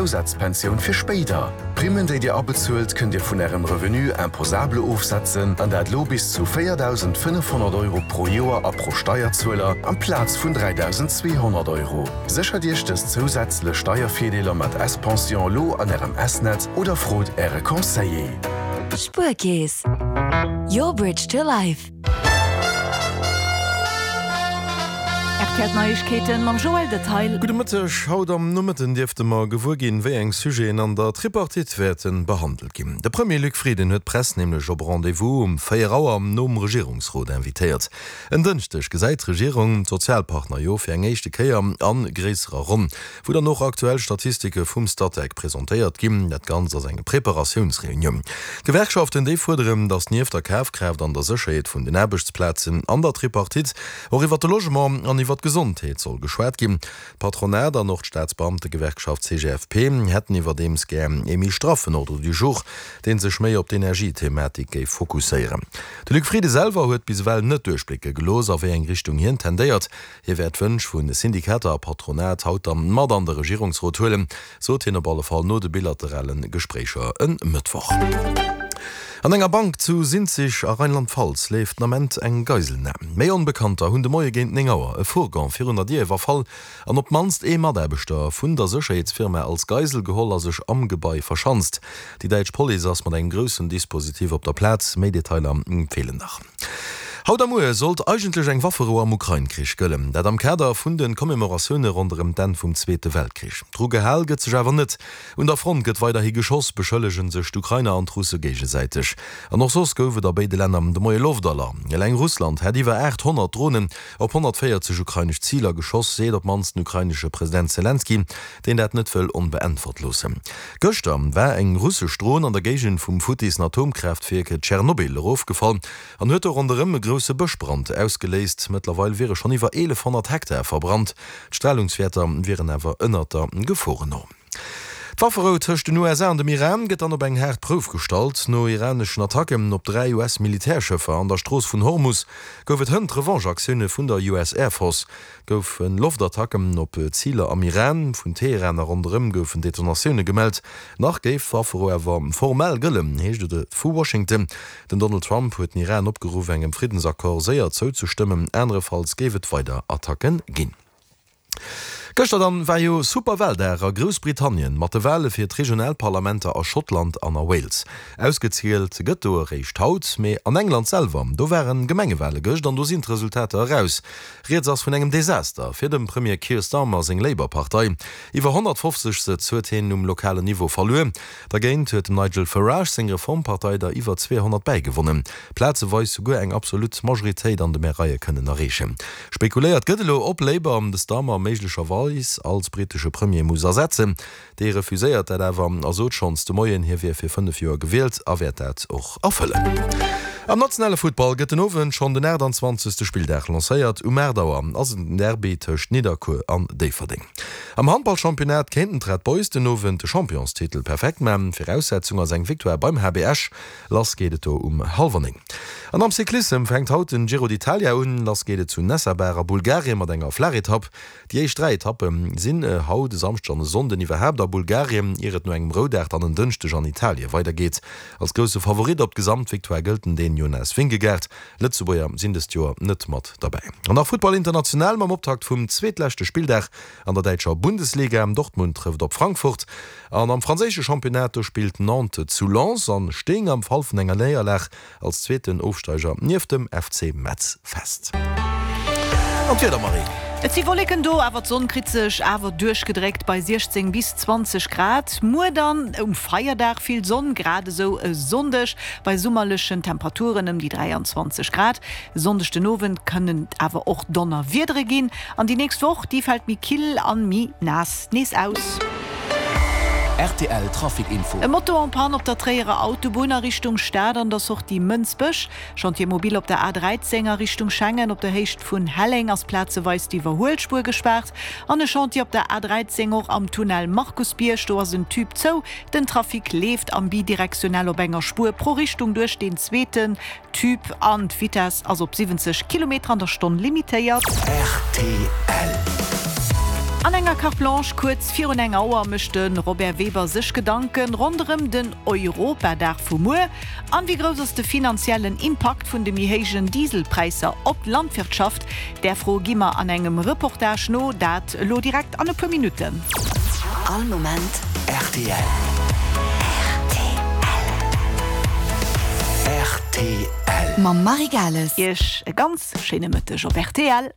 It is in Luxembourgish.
Zousazpensioun fir spéider. D'Primmen, déi Dir abezuelt, kënnt Dir vun Ärem Revenu imposable ofsetzen, an dat lo bis zu 4.500 Euro pro Joer a pro Steierzueler, amplaz vun 3.200 Euro. Séchert Iech dës zousätzlech Steiervirdeeler mat S-Pension lo an Ärem S-Netz oder frot Äre Conseiller. Spuerkeess, your bridge to life. Rtl Neiegkeeten mam Joël Detail. Gudde Mëtteg. Haut am Nomëtten dierfte mer gewuer ginn, wéi eng Sujeten an der Tripartite wäerte behandelt ginn. De Premier Luc Frieden huet d'Press nämlech op e Rendez-vous um 4 Auer nom Regierungsrot invitéiert. En Dënschdeg gesäit d'Regierung d'Sozialpartner jo fir eng éischte Kéier a gréisserer Ronn. wou dann och aktuell Statistike vum Statec presentéiert ginn. Dat Ganzt ass eng Preparatiounsreunioun. D'Gewerkschaften, déi fuerderen, datt nieft der Kafkraaft an der Sécherheet vun den Aarbechtsplazen an der Tripartite och iwwer de Logement an iwwer d'Gesondheet soll geschwat ginn. D'Patronat an och d'Staatsbeamtegewerkschaft CGFP hätten iwwerdeems gär ee méi straffen Ordre du jour, dee sech méi op d'Energiethematik géif fokusséieren. De Luc Frieden selwer huet bis ewell net duerchblécke gelooss, a wéi eng Richtung hien tendéiert. Hie wäert d'Wënsch vu Syndikater a Patronat haut dann mat an de Regierungsrot huelen, sot hien op alle Fall no de bilaterale Gespréicher e Mëttwoch. An enger Bank zu Sinzig a Rheinland-Pfalz leeft den Ament eng Geiselnam. Méi Onbekannter hunn de Moie géint 9 Auer e Fourgon virun der Dier iwwerfall an op d'mannst ee Mataarbechter vun der Sécherheetsfirma als Geisel geholl a sech am Gebai verschanzt. Déi däitsch Police ass mat engem groussen Dispositif op der Plaz. Méi Detailer feelen nach. Haut a muer sollt eigentlech eng Wafferou am Ukrain-Krich gëllen. Dat am Kader vun de Commemoratioune ronderëm d'Enn vum Zweete Weltkrich. Dru gehal gëtt sech awer net. Un der Front gëtt weiderhi geschoss, beschëllege sech d'Ukrainer an d'Russe géigesäiteg. An och soss gouf et a béide Länner de Moie Loftalarm. Eleng Russland hätt iwwer 800 Dronen op 140 ukrainesch Ziler geschoss, seet op d'mannst den ukrainesche President Selenskyj, deen dat net wëll onbeäntwert loossen. Gëschter war eng russesch Dron an der Géigend vum futtissen Atomkraaftwierk Tschernobyl erofgefall an huet do ronderëm e grousse Bëschbrand ausgeléist. Mëttlerweil wiere schonn iwwer 1.100 Hektar verbrannt, d'Stralungswäerter wieren awer ënnert der Geforennorm. D'Wafferou tëscht den USA an dem Iran gëtt dann op eng haart Prouf gestallt. No iraneschen Attacken op 3 US-Militärschëffer an der Strooss vun Hormus gouf et hënt Revanche-Aktioune vun der US Air Force. Goufe Loftattacken op Ziler am Iran. Vun Teheran a ronderëm goufen Detonatioune gemellt. Nach géif d'Wafferou awer formell gëllen, heescht et vu Washington. Den Donald Trump huet den Iran opgeruff, engem Friddensaccord séier zouzestëmmen, anerefalls géif et weider Attacke ginn. Gëschter dann war jo Superwaldag a Groussbritannien mat de Wale fir d'Regionalparlamenter a Schottland an a Wales. Ausgezielt gëtt do eréischt haut, mee an England selwer, do waren Gemengewale gëscht an do sinn d'Resultater eraus. Rieds ass vun engem Desaster fir dem Premier Keir Starmer seng Labour-Partei. Iwwer 150 Sëtz huet hien um lokalen Niveau verluer. Dergéint huet dem Nigel Farage seng Reformpartei der iwwer 200 bäigewonnen, plazeweis souguer eng absolut Majoritéit an de Maireie kënnen erreechen. Spekuléiert gëtt elo, ob Labour de Starmer méiglecherweis als britesche Premier muss ersetzen. Dee refuséiert dat awer a sot schonns de Moien, hie wier fir 5 Joer gewielt a wäert dat och erfëllen. Am nationale Futtball gëtt den Owend schonn den 28. Spilldag lancéiert. Um 8 Auer ass et den Derby tëscht Nidderkuer an Déifferdeng. Am Handballchampionnat kéinten d'Red Boys den Owend de Championstitel perfekt man. Viraussetzung ass eng Victoire beim HB Esch. Lass geet et do um hallwer 9. An am Cyclissem fänkt haut den Giro d'Italia un. Lass geet et zu Nessebar a Bulgarien mat enger Flaachetapp. Déi éischt 3 Etappe sinn haut, e Samschdeg an e Sonnden iwwerhaapt a Bulgarien, ier et no engem Roudag dann en Dënschdeg an Italie weidergeet. Als grousse Favorit op d'Gesamtvictoire gëllt den Dän Jonas Vingegaard. Lëtzebuerger sinn dëst Joer net mat derbäi. An nach Futtball international mam Optakt vum zweetleschte Spilldag an der däitscher Bundesliga. Dortmund trëfft op Frankfurt an am franséische Championnat, do spillt Nantes zu Lens an stéing am Fall vun enger Néierlag Als zweeten Ofsteiger nieft dem FC Metz fest. An d'Wieder, Marie? Et si Wolleken do, awer d'Sonn kritt sech awer duerchgedréckt bei 16 bis 20 Grad. Muer dann um Feierdag vill Sonn, grad esou e Sonndeg bei summerlechen Temperaturen ëm déi 23 Grad. E Sonndeg den Owend kënnen et awer och Donnerwiedere ginn an déi nächst Woch, déi fält méi kill an méi naass nees aus. Rtl Trafic Info. E Moto en panne op der Tréierer Autobunn a Richtung Stad an der Sortie Mënsbech. Chantier mobile op der A 13 a Richtung Schengen op der Héicht vun Helleng ass plazeweis d'Iwwerhuelspuer gespaart. An e Chantier op der A 13 och am Tunnel Markusbierg, do ass en Tube zou. Den Trafic leeft am bidirektionell op enger Spuer pro Richtung duerch deen zweeten Tube an d'Vitess ass op 70 Kilometer an der Stonn limitéiert. Rtl. An enger Carte Blanche kuerz virun enger Auer mécht de Robert Weber sech Gedanken ronderëm den Europadag vu muer. An wéi grouss ass de finanziellen Impakt vun de méi héijen Dieselpräisser op d'Landwirtschaft? Där Fro gi mer an engem Reportage no, dat elo direkt an e puer Minutten. All Moment rtl. Rtl. Mam Marie Gales. Iech e ganz schéine Mëtteg op rtl.